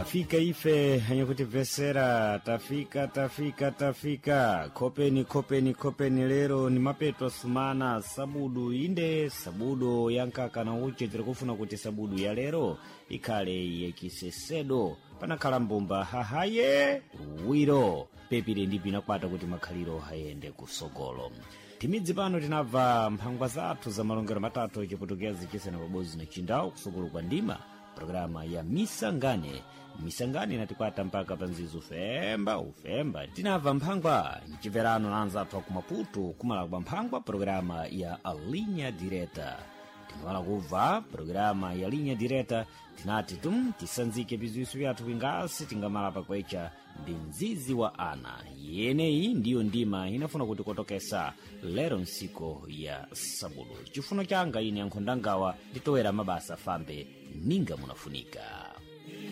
Tafika ife anyakutibvesera, tafika, tafika, tafika. Khopeni, khopeni, khopeni. Lero ni mapeto sumana sabudu, inde sabudu yankaka na uche. Tiri kufuna kuti sabudu ya lero ikhale yachisesedo, panakhala mbumba hahaye wiro pepire ndi pinakwata kuti makhaliro ayende kusogolo. Timidzi pano tinabva mphangwa zathu za malongero matatu, Chiputukezi, Chisena pabodzi na Chindawu, kusogolo kwa ndima programa ya Misangane. Misangane inatikwata mpaka panzizi ufemba ufemba. Tinabva mphangwa mchimverano na anzathu aku Maputo, kumala kwa mphangwa programa ya Linha Direta. Tinamala kubva programa ya Linha Direta, tinati tum tisanzike biziwiso vyathu kwingasi tingamala pakwecha ndi mzizi wa ana. Yeneyi ndiyo ndima inafuna kuti kotokesa lero nsiko ya sabudu. Chifuno changa ine ankhondangawa nditowera mabasa fambe ninga munafunika.